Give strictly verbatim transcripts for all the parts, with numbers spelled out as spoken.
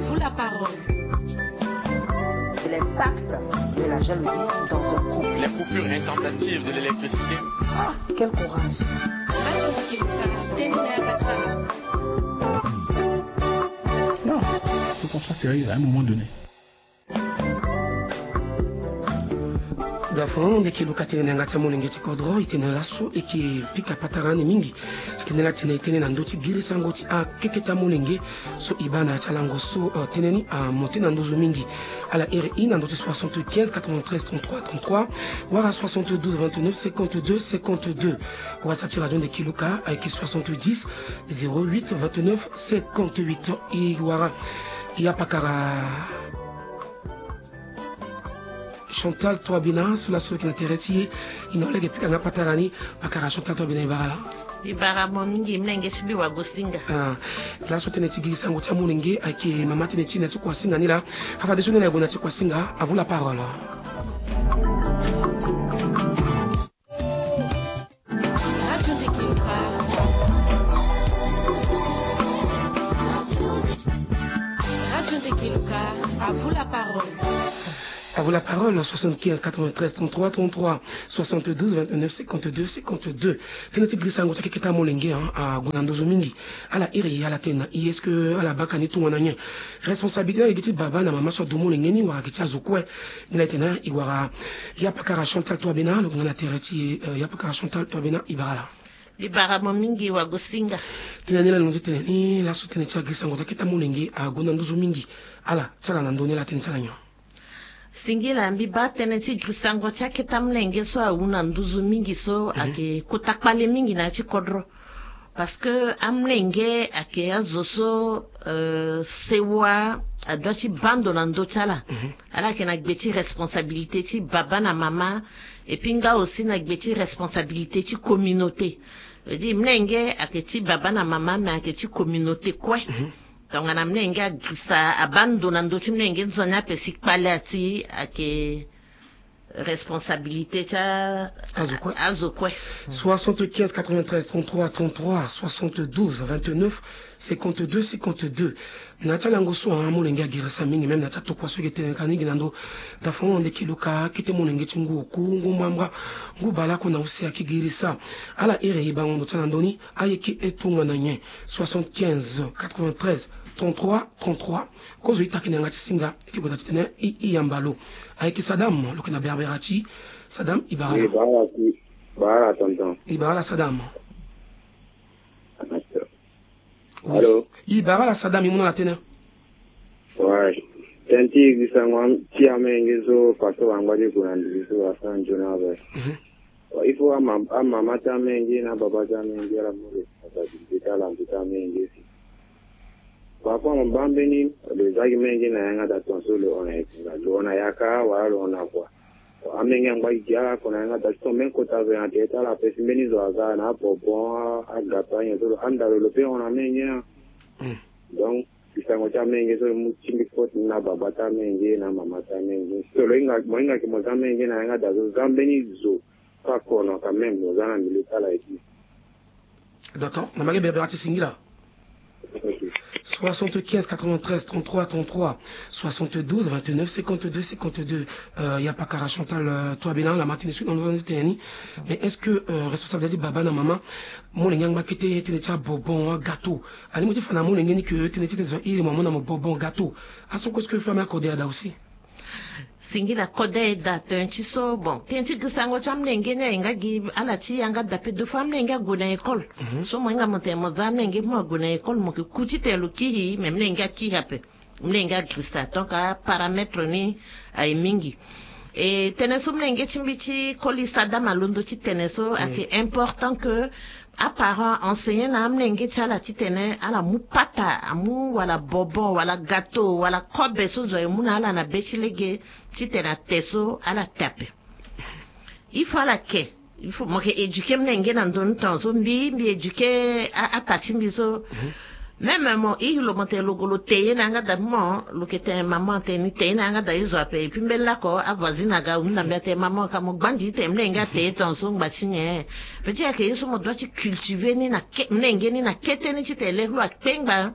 Vous la parole. L'impact de la jalousie dans un couple. Les coupures intempestives de l'électricité. Ah, quel courage. Non, faut qu'on soit sérieux à un moment donné. Dafa ndeke luka tene na yanga ti amolenge ti kodro, e tene laso e ke pika patara ni mingi. Titene la tene e tene na ndö ti girisango ti akeketa molenge so e baa na ya ti alango so, eh, tënë ni amonte na nduzu mingi. Ala iri e na ndö ti soixante-quinze quatre-vingt-treize trente-trois trente-trois wala soixante-douze vingt-neuf cinquante-deux cinquante-deux. WhatsApp ti radio ndeke luka ayeke soixante-dix zéro huit vingt-neuf cinquante-huit. E wara ya pakara Chantal Touabena so laso lo yeke na tere ti e. E na lo lege pika nga patara ni. Pakara Chantal Touabena, e bara la. E bara mo mingi, mlenge ti mbi Wagosinga. Ah, laso tënë ti girisango ti amolenge ayeke mama tënë ti e na ti kuasinga ni laa. Fafadeso ni laa e gue na ti kuasinga. À vous la parole. Radio Ndeke Luka. Radio Ndeke Luka, à vous la parole. À vous la parole, soixante-quinze quatre-vingt-treize trente-trois trente-trois, soixante-douze vingt-neuf cinquante-deux cinquante-deux. Tënë ti girisango ti akeketa molenge, hein, ague na nduzu mingi. Ala iri ala tene na e, est-ce que ala baka ni tongana nyen? Responsabilité ni ayeke gi ti baba na mama so adu molenge ni wala ayeke ti azo kue? Ni laa e tene na e wara ya pakara Chantal Touabena, lo yeke nga na tere ti e, eh, ya pakara Chantal Touabena, e bara la. E bara mo mingi Wagosinga. Tënë ni laa lo ti tene ni laso tënë ti agirisango ti akeketa molenge ague na nduzu mingi. Ala ti ala na ndö ni laa tënë ti ala nyen? Singila, mbi baa tënë ti girisango ti akeketa molenge so awu na nduzu mingi so, mhm, ayeke kota kpale mingi na ya ti kodro. Parce que amolenge ayeke azo so, euh, sewa adoit ti baa ndo na ndö ti ala. Mhm. Ala yeke na gbe ti responsabilité ti baba na mama, et puis nga aussi na gbe ti responsabilité ti communauté. Veut dire, mlenge ayeke ti baba na mama, mais ayeke ti communauté kue. Mhm. Tongana mlenge agirisa, abaa ndo na ndö ti mlenge nzoni ape si kpale ati, ayeke responsabilité ti a-, azo kue. Azo kue. Soixante-quinze quatre-vingt-treize trente-trois trente-trois, soixante-douze vingt-neuf cinquante-deux cinquante-deux. Na ya ti alango so, ah, amolenge agirisa mingi, même na ya ti atokua so e yeke tene ka ni gi na ndö. Dafa ndeke luka akete molenge ti ngu oku, ngu mambra, ngu baleoko na use ayeke girisa. Ala iri e bango ndo ti ala na ndö ni, ayeke e tongana nyen? Soixante-quinze quatre-vingt-treize trente-trois trente-trois. Kozo e taki na yanga ti singa, e ke gue daa titene e, e yamba lo. Ayeke Sadam, lo yeke na Berbera ti. Sadam, e bara la. E bara la, tonton. E bara la, Sadam. Oui. Allô? E bara la, Sadam, e mu na ala tënë. Ouais. Tënë ti girisango ti amolenge so, façon bango ti gue na ndiri so, asara nzoni ape. Mhm. Il faut ama-, amama ti amolenge na ababa ti amolenge ala mu responsabilité ti ala na ndö ti amolenge si. Parfois mo baa mbeni lo zia gi molenge na yanga daa, tongaso lo hon na yanga, lo hon na yaka wala lo hon na kua. Amolenge angba gi gi ala oko na yanga daa, si tongaso mbeni kota zo nyen atene ti ala ape, si mbeni zo aga na abonbon, a-, agâteau, anyen so lo hon na lo, lo pe hon na amolenge ni. Mm. Donc girisango ti amolenge so, e mu tingbi faute ni na ababa ti amolenge na amama ti amolenge. So lo hinga, mo hinga ke mo zia amolenge na yanga daa, so zia mbeni zo. Pas kono quand même, mo za na milieu ti ala et tout. D'accord. Na mbage Berbera ti singila. Ok. Soixante-quinze quatre-vingt-treize trente-trois trente-trois, soixante-douze vingt-neuf cinquante-deux cinquante-deux. Euh, ya pakara Chantal, euh, Touabena, la matinée suite, on va tenir. Mais est-ce que, euh, responsable ti baba na mama, molenge angba kete tënë ti abonbon, gâteau? Alingbi ti fa na molenge ni ke tënë ti tene zo iri mo amu na mo bonbon, gâteau. Aso kue, est-ce que famille akode ada aussi? Singila, kode daa tënë ti so. Bon, tënë ti girisango ti amolenge ni ahinga gi ala ti yanga daa ape. Deux fois amolenge ague na école. Mhm. So mo hinga mo tene mo za amolenge mo ague na école, mo yeke ku titene lo kiri, mais molenge akiri ape. Molenge agirisa. Donc aparamètre ni aye mingi. E tënë so molenge ti mbi ti koli Sadam alondo ti tene so, mm, ayeke important que aparent enseigner na amolenge ti ala titene ala mu pata, amu wala bonbon, wala gâteau, wala kobe so zo aye mu na ala na be ti lege, titene ate so ala te ape. Il faut ala ke, il faut mo yeke éduquer molenge na ndö ni, tongaso mbi, mbi éduquer a-, ata ti mbi so. Mhm. Même mo iri lo, mo tene lo gue lo te ye na yanga daa, mo lo yeke tene maman atene ni te ye na yanga daa, e zo ape. Et puis mbeni laoko avoisine aga ahunda mbi atene maman ka mo gbandi titene molenge ate ye tongaso, ngba ti nyen? Petit, ayeke ye so mo doit ti cultiver ni na ke-, molenge ni na kete ni titene lege lo akpengba.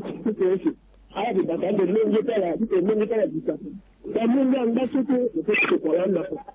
ti ti ti ti ala ti bata ande lenge ti ala ti te lenge ti ala dita. Ka lenge angba so te lo pe ti tokua lani na fa.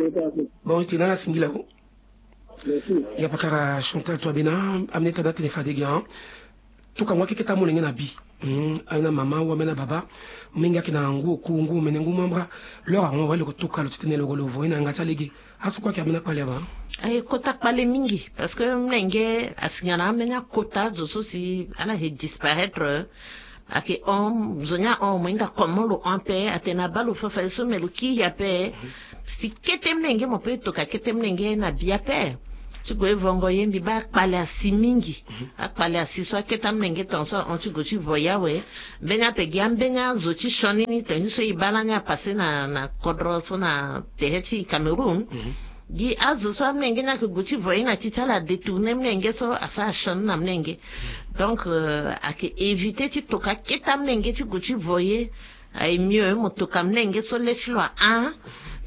Bon, ete na ala singila o. Ya pakara Chantal to abena amene tana tene fade gi an. Tuka ngwa keketa molenge na bi. Hmm, ana mama wa mena baba. Mingi ake na ngu oku ngu mene ngu mambra. Lora ngwa wale ko tuka lo titene lo ko lo voye na ngati alege. Asu kue ake amena kpale aba. Aye kota kpale mingi parce que mlenge asingana amena kota zo so si ana he disparaître. Ake hon zo ni ahon mo hinga comment lo hon ape atene abaa lo fafadeso me lo kiri ape. Si kete mlenge mo pe toka kete mlenge na bi ape. Ti gue vongo ye mbi baa akpale asi mingi. Akpale asi so akete amlenge tongaso ahon ti gue ti voye awe. Mbeni ape gi ambeni azo ti sioni ni tongana so e baa lani apasse na na kodro so na tere ti Cameroun. Gi azo so amlenge ni ayeke gue ti voye na ti ti ala adetourne mlenge so asara sioni na mlenge. Donc ayeke éviter ti toka kete amlenge ti gue ti voye. Aye mieux mo toka mlenge so le ti lo ahon.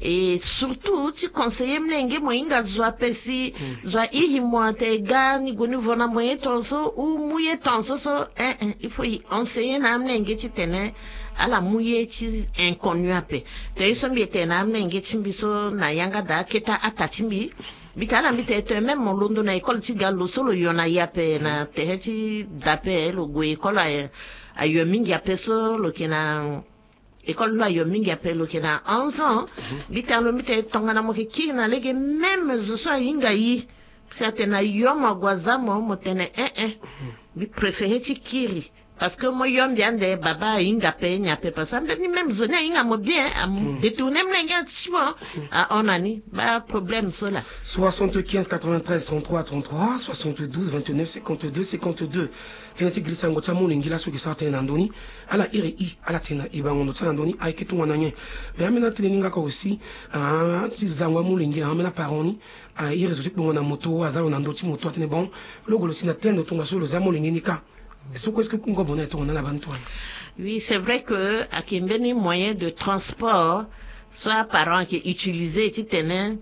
Et surtout ti conseiller mlenge mo hinga zo ape si zo airi mo atene ga ni gue ni vo na mo ye tongaso ou mu ye tongaso so. Eh eh il faut e enseigner na amlenge titene ala mu ye ti inconnu ape. Te ye so mbi etene na amlenge ti mbi so na yanga daa aketa ata ti mbi. Mbi tene ala mbi tene to même mo londo na école ti ga lo so lo yo na ye ape na tere ti da ape lo gue école aye. Ayo mingi ape so lo yeke na école lo ayo mingi ape lo yeke na onze ans. Mbi tene lo mbi tene tongana mo yeke kiri na lege même zo so ahinga yi si atene ayo mo ague aza mo mo tene eh eh. Mbi préféré ti kiri. Parce que mo yo mbi ande baba ahinga ape nyen ape parce que ambeni même zo ni ahinga mo bien. Adetourne mlenge ti mo. Ahon na ni baa problème so laa. Soixante-quinze quatre-vingt-treize trente-trois trente-trois, soixante-douze vingt-neuf cinquante-deux cinquante-deux. Tënë ti girisango ti amolenge laso e ke sara tënë na ndö ni. Ala iri i ala tene na e bango ndo ti ala na ndö ni ayeke tongana nyen? Mais ambeni atënë ni nga ka aussi. Ti zango amolenge ambeni aparent ni. Airi zo ti kpongo na moto aza lo na ndö ti moto atene bon, lo gue lo si na tel ndo tongaso lo za molenge ni kâ. So kue est-ce que kungo bona e tongana ala bani tongana? Oui, c'est vrai que ayeke mbeni moyen de transport so aparent ayeke utiliser titene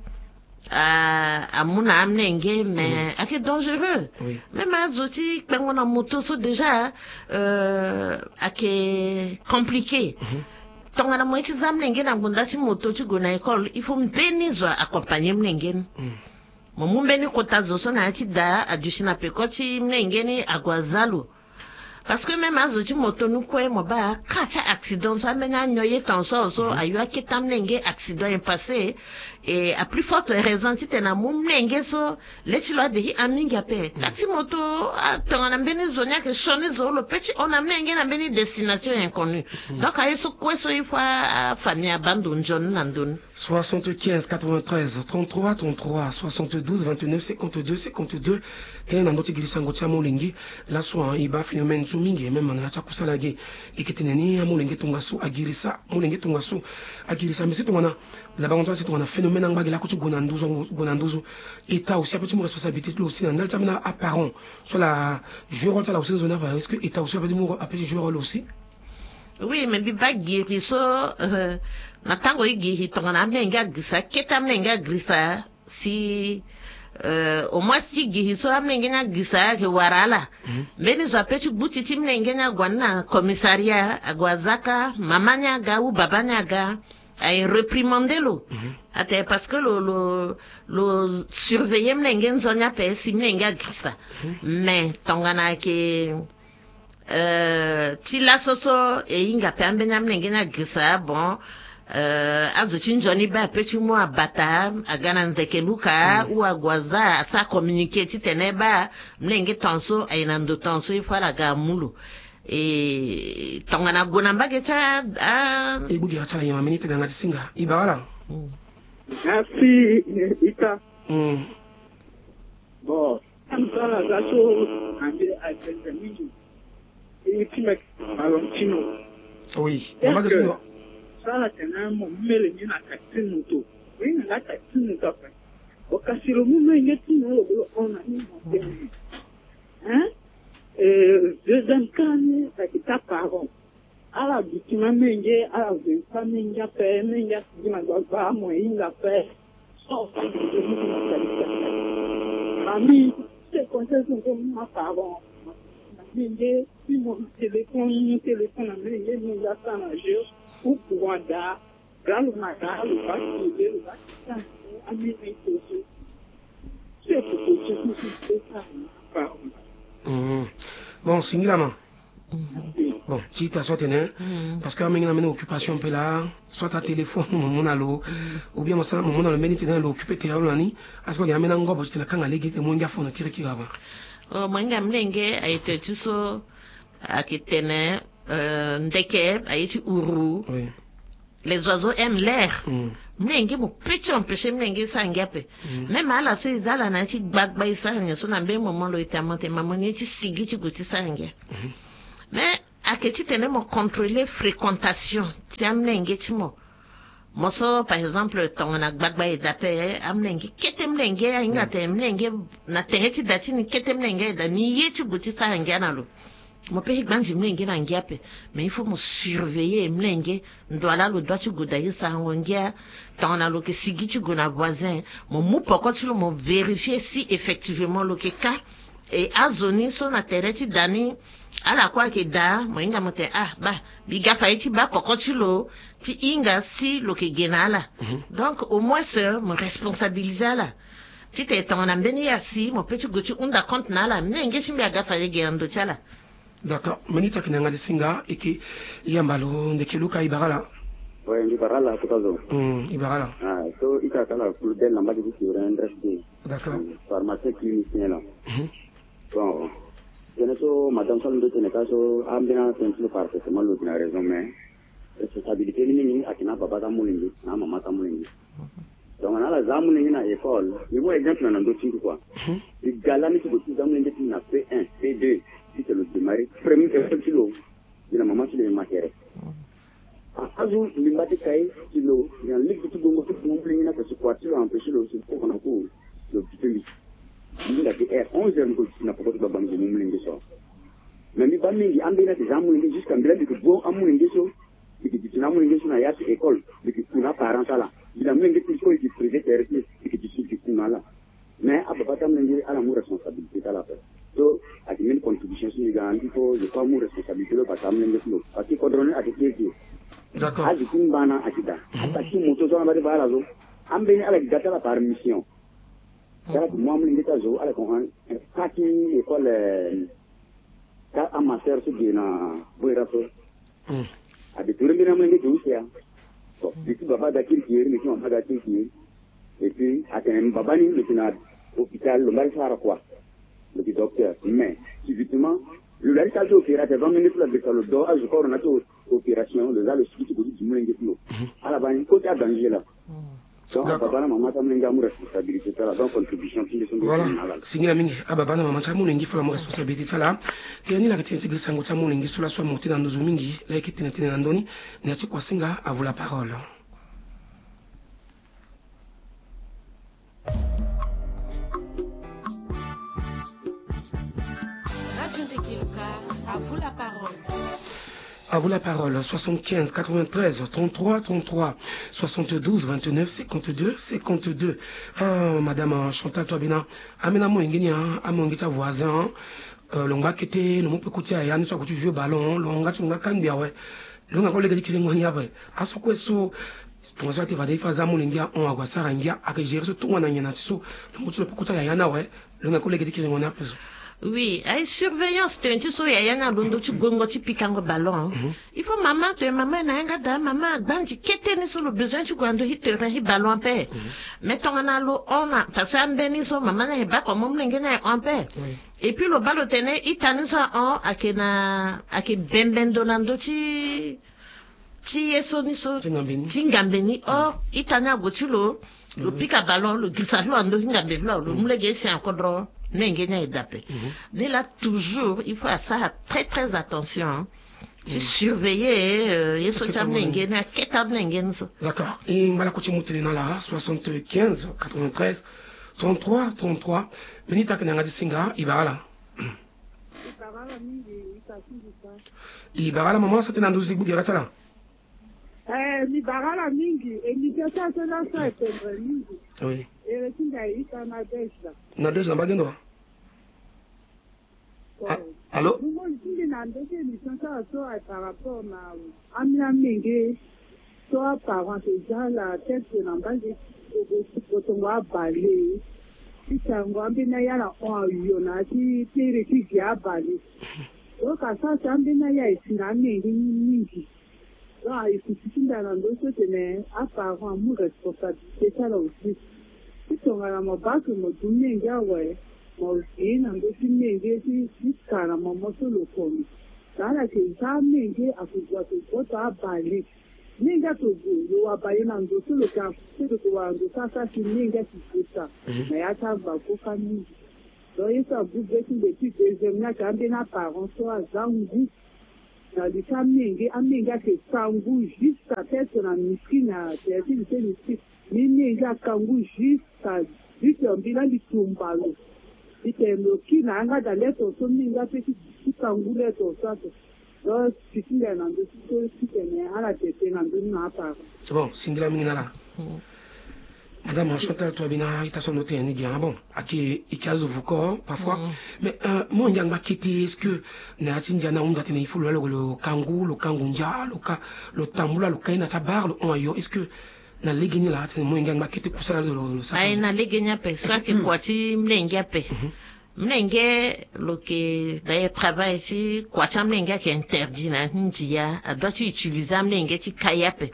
amu na amlenge mais ayeke dangereux. Même azo ti kpengo na moto so déjà ayeke compliqué. Tongana mo ye ti za mlenge na ngbonda ti moto ti gue na école il faut mbeni zo accompagner mlenge ni. Mo mu mbeni kota zo so na ya ti da aduti na peko ti mlenge ni ague aza lo. Parce que même azo ti moto ni kue mo baa ka ti accident so ambeni anyo ye tongaso so ayo akete amlenge accident e passé. Et à plus forte raison titene amu mlenge so le ti lo ade hi a mingi ape. Ka ti moto atongana mbeni zo ni ayeke sioni zo lo pe ti hon na mlenge na mbeni destination inconnu. Donc aye so kue so il faut afamille abaa ndo nzoni na ndö ni. Soixante-quinze quatre-vingt-treize trente-trois trente-trois, soixante-douze vingt-neuf cinquante-deux cinquante-deux. Tënë na ndö ti girisango ti amolenge. Laso e baa phénomène so mingi même na ya ti akusala ge. E ke tene ni amolenge tongaso agirisa molenge tongaso agirisa mbi si tongana. Na bango ti ala si tongana phénomène angba ge lako ti gue na nduzu gue na nduzu. État aussi ape ti mu responsabilité ti lo aussi na ndali ti ambeni aparent so ala jouer rôle ti ala aussi nzoni ape est-ce que état aussi ape ti mu ape ti jouer rôle aussi? Oui mais mbi baa giri so na tango e giri tongana amlenge agirisa kete amlenge agirisa si au moins ti giri so amlenge ni agirisa ayeke wara ala. Mbeni zo ape ti gbuti ti mlenge ni ague ani na commissariat ague aza ka mama ni aga ou baba ni aga aye réprimande lo. Atene parce que lo lo lo surveiller mlenge nzoni ape si mlenge agirisa. Mais tongana ayeke ti laso so e hinga ape ambeni amlenge ni agirisa bon. Azo ti nzoni baa ape ti mu abata aga na ndeke luka ou ague aza asara communiqué titene baa mlenge tongaso aye na ndo tongaso il faut ala ga amu lo. E tongana gue na mbage ti a. E bongbi ata na yema meni tene yanga ti singa. E bara ala. Merci. Ita. Bon, ala za so ande azenze mingi. E ti meke Valentino. Oui. Mama ke so. Sara tene mo mele ni na kati moto. Oui, na kati moto ape. Bo kasi lo mu menge ti mo lo bolo ona ni mo tene. Hein? Deuxième cas ni sa ki ta parent. Ala duti ma menge, ala veni pa menge ape, menge asigi na gbagba mo hinga ape. So mami, te conseil so nge ma parent. Na menge, si mo téléphone, mo téléphone na menge, menge asa na jeu, ou courant da. Bon, singila ma. Bon, ti ita so atene, parce que amenge na mene occupation mpe laa, soit atéléphone mo mu na lo, ou bien mo sara mo mu na lo mbeni tene lo occupé tere lo na ni. Aso ake amene angobo ti tene akanga lege ti tene mo hinga afono kirikiri avant. Oh, mo hinga mlenge aye tene ti so ake tene, euh, ndeke aye ti uru. Les oiseaux aiment l'air. Mlenge mo peut ti empêcher mlenge ti sara ngia ape. Même ala so e za ala na ya ti gbagba e sara nyen so na mbeni moment lo e tene aman tene mama ni ye ti sigi ti gue ti sara ngia. Mais ake ti tene mo contrôler fréquentation ti amlenge ti mo. Mo so par exemple tongana gbagba e daa ape, amlenge kete mlenge ahinga tene mlenge na tere ti da ti ni kete mlenge aye daa ni ye ti gue ti sara ngia na lo. Mo peut ti gbanzi mlenge na ngia ape. Mais il faut mo surveiller mlenge. Ndo ala lo dua ti gue daa ti sarango ngia. Tongana lo yeke sigi ti gue na voisin, mo mu poko ti lo mo vérifier si effectivement lo yeke ka. E azo ni so na tere ti da ni ala kue ayeke daa, mo hinga mo tene ah baa, mbi ga fa ye ti baa poko ti lo ti hinga si lo yeke ge na ala. Donc au moins mo responsabiliser ala. Titene tongana mbeni ye asi mo peut ti gue ti hunda compte na ala, mlenge ti mbi aga fa ye ge na ndo ti ala. D'accord, mbeni ita ake na yanga ti singa e ke yamba lo ndeke Luka, e bara ala. Ouais, mbi bara ala kota zo. Hmm, e bara ala. Ah, so ita ake ala plus belle na mbage ti Turin, N R F D. D'accord. Pharmacien clinicien la. Bon, tënë so madame so alondo tene ka so ambeni atene ti lo parfaitement, lo gi na raison, mais responsabilité ni mingi ayeke na ababa ti amolenge na amama ti amolenge. Donc na ala za amolenge na école, mbi mu exemple na ndo ti mbi kua. Mbi ga lani ti gue ti za amolenge ti mbi na P un, P deux, titene lo démarrer première école ti lo. Mbi na mama ti lo e ma tere. Azo mbi mba ti kai ti lo na lege ti gongo ti gongo molenge ni ape si kua ti lo empêcher lo si koko na kuru lo duti mbi. Mbi hinga ti heure onze heures mbi ko duti na poko ti gbagba mbi ko mu molenge so. Mais mbi baa mingi ambeni ayeke za amolenge jusqu'à mbi laa mbi yeke gue amolenge so. Mbi yeke duti na amolenge so na ya ti école, mbi yeke ku na aparent ti ala. Mbi na amolenge ti mbi so e yeke privé tere ti e, mbi yeke duti mbi yeke ku na ala. Mais ababa ti amolenge ala mu responsabilité ti ala ape. So ayeke mbeni contribution so mbi ga na andi so je crois amu responsabilité lo bata amolenge ti lo parce que kodro ni ayeke kiri kiri. D'accord. Azi ti ngbana ayeke daa. Ataxi moto so ala mba ti baa ala so. Ambeni ala yeke ga ti ala par mission. Ti ala yeke mu amolenge ti azo ala yeke hon ka ti école. Ka amaster so ge na boira so. Ade ture mbeni amolenge ge use ya. Bon, mbi ti baba aga kirikiri, mbi ti mama aga kirikiri. Et puis atene baba ni lo yeke na hôpital, lo mba ti sara kua. Lo yeke docteur mais subitement lo laa ti sara ti opéra te avant minute lo agresa lo do azo koro na ti opération, lo za lo sigi ti gue ti du molenge ti lo. Ala baa ni koti adanger laa. Donc ababa na mama ti amolenge amu responsabilité ti ala. Donc contribution ti mbi so mbi. Voilà. Singila mingi. Ababa na mama ti amolenge fo la amu responsabilité ti ala. Tënë ni la yeke tënë ti giri sango ti amolenge so laso amu tënë na nduzu mingi la yeke tene tënë na ndoni. Na ya ti kua singa, à vous la parole. Radio Ndeke Luka, à vous la parole. À vous la parole, soixante-quinze quatre-vingt-treize trente-trois trente-trois, soixante-douze vingt-neuf cinquante-deux cinquante-deux. Ah, madame Chantal Toibina, ambeni amolenge ni, amolenge ti avoisin, lo ngba kete, lo mu pe koti ayaya ni so ague ti vieux ballon, lo nga ti lo nga kangbi awe. Lo nga kue lege ti kiringo ni ape. Aso kue so, tongaso ate fade i fa aza amolenge ahon ague asara ngia, ayeke gérer so tongana nyen na ti so lo mu ti lo pe koti ayaya ni awe. Lo nga kue lege ti kiringo ni ape so. Oui, aye surveillance tene ti so yaya ni alondo ti gongo ti pikango ballon. Il faut mama tene mama na yanga daa mama agbanzi kete ni so lo besoin ti gue na ndo ti terrain ti ballon ape. Mais tongana lo hon na parce que ambeni so mama ni aye baa kua mo molenge ni aye hon ape. Et puis lo baa lo tene ita ni so ahon ayeke na ayeke bembe ndo na ndö ti ti ye so ni so ti ngambe ni or ita ni ague ti lo. Lo pika ballon lo girisa ti lo na ndö ti ngambe ti lo lo mu lege si akodro. Mlenge ni aye daa ape. Ni laa toujours il faut asara très très attention ti surveiller ye so ti amlenge ni akete amlenge ni so. D'accord. E ngbalako ti mu tene na ala soixante-quinze quatre-vingt-treize trente-trois trente-trois. Mbeni taki na yanga ti singa e bara ala. E bara ala mama ala sa tënë na nduzu ti gbu gere ti ala. Eh, mbi bara ala mingi. Émission ti ala so laso aye pendre mingi. Oui. Ere ti nda e ita Nadège la. Nadège na mbage ndo wa? Allô? Mbi mo ti mbi na ndö ti émission ti ala so aye par rapport na ambeni amenge so aparent ake za ala teste na mbage ti botongo abale. Ti tango ambeni aye ala hon ayo na ya ti tere ti ge abale. Donc asara si ambeni aye aye si na amenge ni mingi. Donc aye kutu ti nda na ndö so tene aparent amu responsabilité ti ala aussi. Ti tongana mo baa ake mo du menge awe mo vie na ndö ti menge ti ti ka na momo so lo kono. Na ala yeke za amenge ake gue ake gue to abale. Menge ake gue lo wara bale na ndo so lo yeke afu so lo yeke wara ndo so asara si menge ake gue sa. Na ya ti agba kue ka mingi. Donc ye so abu be ti mbi ti deuxième ni ake ambeni aparent so aza ngu. Na li ti amenge amenge ake ka ngu juste à tête na miskine na tene ti li ti miskine. Ni menge aka ngu juste à huit heures mbi laa mbi tumba lo. Mbi tene lo kiri na yanga daa lettre so menge ape ti ti ka ngu lettre so ape. Donc si ti nda na ndö ti so ti tene ala tete na ndö ni na aparent. Bon singila mingi na ala. Madame Chantal, toi bina ita so ndo tene ni gi ah bon. Ake ike azo vuko parfois. Mais mo ngia ngba kete est-ce que na ya ti ndia na hunda tene il faut lo laa lo ka ngu lo ka ngu ndia lo ka lo tambula lo ka ye na ti abar lo hon ayo est-ce que na lege ni laa tene mo ngia ngba kete kusala lo lo sara aye na lege ni ape so ake kua ti mlenge ape. Mlenge lo yeke d'ailleurs travail ti kua ti amlenge ayeke interdit na ya ti ndia adoit ti utiliser amlenge ti ka ye ape.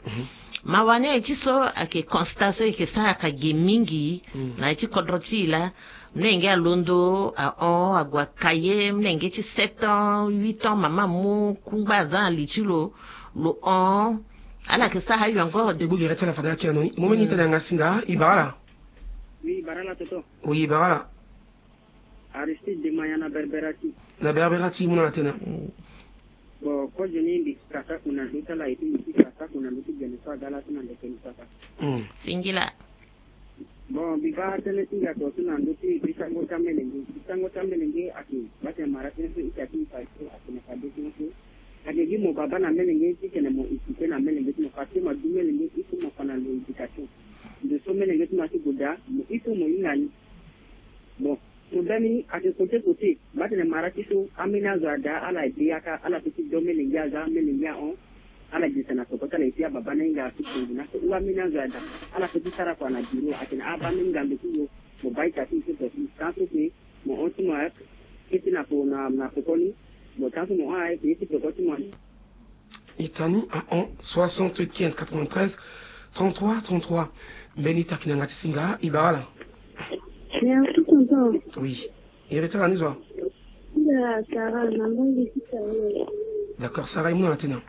Mawa ni aye ti so ayeke constat so e yeke sara aka ge mingi. Na ya ti kodro ti e laa mlenge alondo ahon ague aka ye mlenge ti sept ans huit ans mama amu kungba aza na li ti lo. Lo hon ala yeke sara ayo encore. E gbu gere ti ala fade ala kiri na ni mo mbeni ita na yanga singa e bara ala. Oui e bara ala toto. Oui e bara ala. Aristide Demaya na Berbera ti. Na Berbera ti mu na ala tënë. Bon kozo ni mbi kasa ku na ndö ti ala et puis mbi ti kasa ku na ndö ti gene so aga ala so na ndeke ni sasa. Singila. Bon mbi baa tënë ti ngia to so na ndö ti bisango ti amelenge bisango ti amelenge ake baa tene mara tënë so ita ti mbi fa so ake na fade tënë so. Ake gi mo baba na amelenge ti tene mo équipé na amelenge ti mo parce que mo adu melenge il faut mo fa na lo éducation. Ndo so melenge ti mo asi goda mo il faut mo hinga ni. Bon problème ni ake kote kote. Mba tene mara ti so ambeni azo ada ala ede yaka ala pe ti do melenge aza melenge ahon. Ala girisa na peko ti ala eti ababa na hinga asu pongi na so wu ambeni azo ada ala pe ti sara kua na biro atene abaa mbeni ngambe ti yo. Mo baa ita ti mo so peko tan so ke mo hon ti mo aye kete na peko ni. Mo tan so mo hon aye ke ye ti peko ti mo. Itani ahon soixante-quinze quatre-vingt-treize trente-trois trente-trois. Mbeni taki na yanga ti singa e bara ala. Merci tonton. Oui. Iri ti ala ni zo wa? Nda Sarah na mbongi ti Sarah. D'accord Sarah e mu na ala tënë.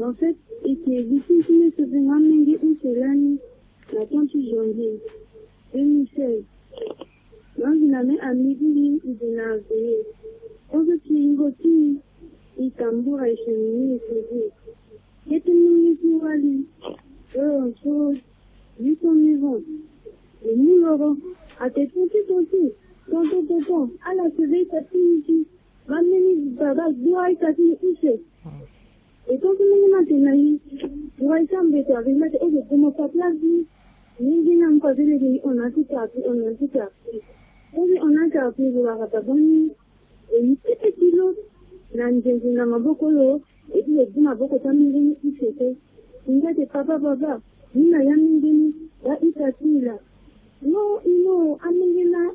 En fait eke gi ti ti mbi so venga menge use lani na temps ti janvier deux mille seize. Langi na me amidili i di na veye. Ozo ti ingo ti i tambura i chemini i sezi. Kete mingi ti wali. Yo so huit ans neuf ans. Lo mu loro ake tonti tonti. Tonton tonton ala seve ita ti i ti. Ba mbeni baba gbura ita ti i use. E tonti mingi na tena i. Gbura ita mbeto ake mbeto ozo gomo pa place ni. Mingi na mpa ti leke ni ona ti kati ona ti kati. Ozo ona ti kati lo lakata bani. E ni kete ti lo na nzenze na maboko lo. E ti lo du maboko ti amenge ni use te. Ngia te papa papa ni na ya menge ni. Ba ita ti i la. No i no amenge na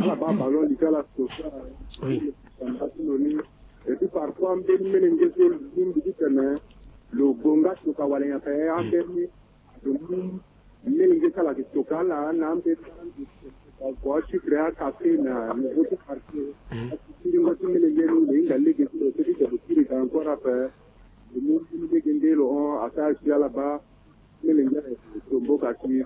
Ala baa ballon li ti ala so. Oui. Et puis parfois mbeni melenge so lo lingbi ti tene lo gonga toka wala nyen ape ambeni. Lo mu melenge ti ala ayeke toka ala na ambeni. Kua sucre, akafe na niveau ti quartier. Alingo ti melenge ni lo hinga lege ti lo so ti tene lo kiri ga encore ape. Lo mu mbeni lege nde lo hon asara si ala baa. Melenge tombo ka si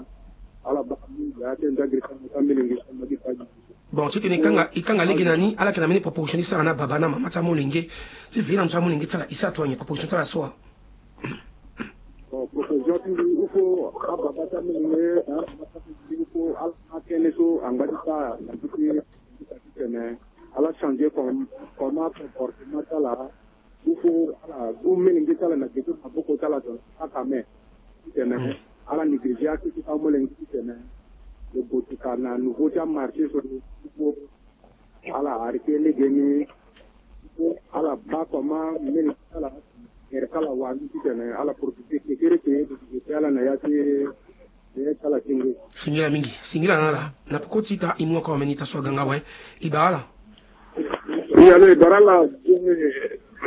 ala baa mu ya ti nzagiri sanga ka melenge sanga gi fagi. Bon, titene i kanga, i kanga lege na ni, ala yeke na mbeni proposition ti sara na baba na mama ti amolenge ti veille na ndö ti amolenge ti ala, i sara tonga nyen proposition ti ala so wa? Bon, proposition ti mbi, il faut ababa ti amolenge na amama ti amolenge, il faut ala ma tënë so angba ti sara na ndö ti tene ala changer comme, comment comportement ti ala. Il faut ala gu melenge ti ala na gbe ti maboko ti ala, donc saka me ti tene ala négliger akete ti amolenge ti tene lo gue toka na niveau ti amarché so. Il faut ala arrêter legeni. Il faut ala baa comment melenge ti ala gere Ala wara ni titene ala profite kekereke, ala na ya ti ala ti ngu. Singila mingi, singila na ala. Na peko ti ita e mu oko ameni ita so aga nga awe. E bara ala. Wi, alo, e bara ala.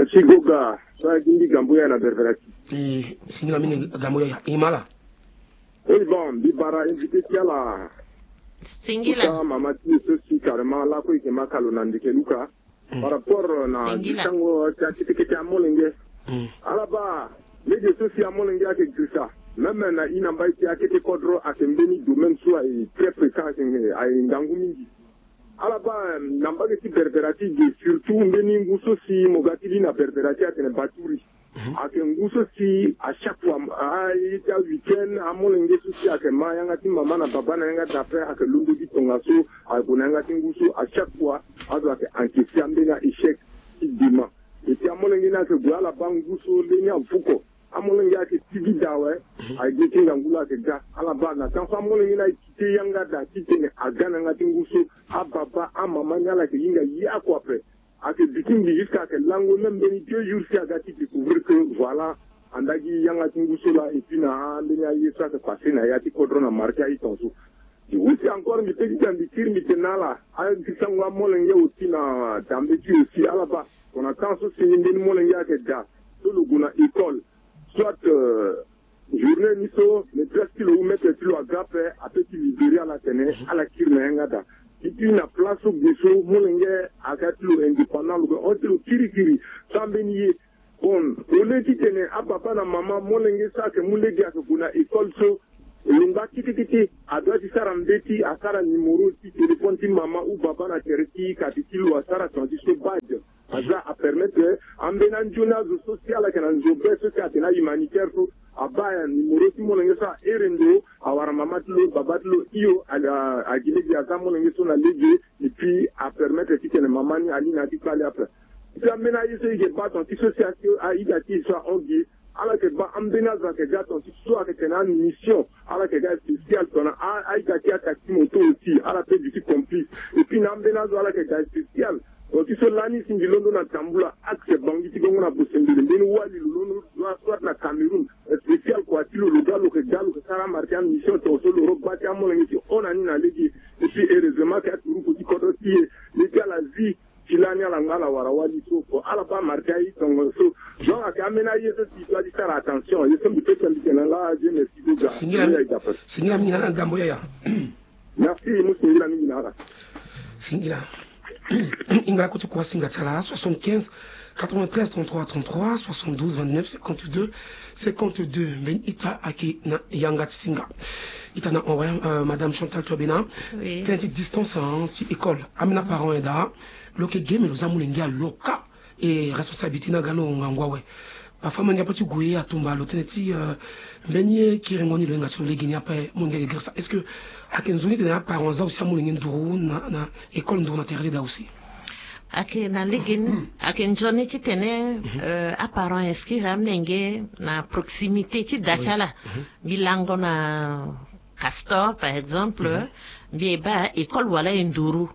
Si Goga so agi mbi Gambo Yaya na Berbera ti. E, singila mingi Gambo Yaya, e ma ala. Oui, bon, mbi bara invité ti ala. Singila. Kota mama ti e so si carrément lakue e yeke ma ka lo na ndeke luka. Par rapport na gitango ti akete kete amolenge. Ala baa, lege so si amolenge ayeke girisa, même na e na mbai ti akete kodro ayeke mbeni domaine so ayeke très fréquent, ayeke ngangu mingi. Ala baa, na mbage ti Berbera ti e ge, surtout mbeni ngu so si mo ga ti li na Berbera ti e atene baturi. Ayeke ngu so si à chaque fois, a, a, e ti aweek-end, amolenge so si ayeke ma yanga ti mama na baba na yanga d'après, ayeke londo ti tongaso, ayeke gue na yanga ti ngu so, à chaque fois azo ayeke encaisser ambeni a-échec ti dema. Et puis amolenge ni ayeke gue ala baa ngu so leni avuko. Amolenge ayeke tigida awe. Aye gi ti ngangu la ayeke ga. Ala baa na temps so amolenge ni aye quitté yanga daa titene aga na yanga ti ngu so, ababa, amama ni ala yeke hinga ye oko ape. Ayeke duti mbi jusqu'à ayeke lango même mbeni deux jours si aga ti découvrir que voilà, anda gi yanga ti ngu so laa. Et puis na ambeni aye so ayeke passé na ya ti kodro na marché aye tongaso. Aussi encore mbi peut ti da mbi kiri mbi tene na ala, agisango amolenge aussi na dambe ti e aussi, ala baa. Tongana temps so si mbeni molenge ayeke daa so lo gue na école, soit, euh, journée ni so maîtresse ti lo ou maître ti lo aga ape, apeut ti libérer ala tene ala kiri na yanga daa. Et puis na place so ge so molenge aga ti lo indépendant, lo gue hon ti lo kirikiri. So ambeni ye, bon, au lieu titene apapa na mama, molenge so ayeke mu lege ayeke gue na école so, lo ngba kete kete, adoit ti sara mbeti, asara numéro ti téléphone ti mama ou baba na tere ti kati ti lo, asara tongana ti so badge. Aza apermettre ambeni anzoni azo so si ala yeke na nzo be so si atene ahumanitaire so, abaa numéro ti molenge so, ahere ndo, awara mama ti lo, baba ti lo, hio, a, a, agi lege aza molenge so na lege. Et puis apermettre titene mama ni ali na ya ti kpale ape. Ti ambeni aye so e yeke baa tongana ti so si asi aida ti e so ahon gi, ala yeke baa ambeni azo ayeke ga tongana ti so ayeke tene amission, ala yeke ga spécial tongana a, aida ti attaque ti moto aussi, ala peut duti complice. Et puis na ambeni azo ala yeke ga spécial tongana ti so lani si mbi londo na Tambula, axe Bangui ti Gongo na Bosembele, mbeni wali lo londo, soit na Cameroun, spécial kua ti lo, lo ga lo yeke ga lo yeke sara amarché amission tongaso, lo ro baa ti amolenge ti hon na ni na lege. Et puis heureusement que aturuku ti kodro ti e, le ti ala zi ti lani ala nga ala wara wali so, ko ala baa marché aye tongaso. Donc ayeke ambeni aye so si e doit ti sara attention. Ye so mbi peut ti mbi tene laa, je, merci beaucoup. Singila, singila mingi na ala Gambo Yaya. Merci, mu singila mingi na ala. Singila. E ngba kue ti kua singa ti ala, soixante-quinze quatre-vingt-treize trente-trois trente-trois, soixante-douze vingt-neuf cinquante-deux cinquante-deux. Mbeni ita ayeke na yanga ti singa. Ita na hon awe, euh, Madame Chantal Touabena. Oui. Tënë ti distance, hein, ti école. Ambeni aparent aye daa, lo yeke ge me lo za molenge aloka. E responsabilité ni aga lo ngangu awe. Parfois molenge ape ti gue atumba lo tënë ti, euh, mbeni ye kiringo ni lo hinga ti lo lege ni ape, molenge ayeke girisa. Est-ce que ayeke nzoni titene aparent aza aussi amolenge nduru na, na école nduru na tere ti da aussi? Ayeke na lege ni, ayeke nzoni titene, euh, aparent inscrire amolenge na proximité ti da ti ala. Mbi lango na Castor, par exemple, mbi ye baa école wala e nduru.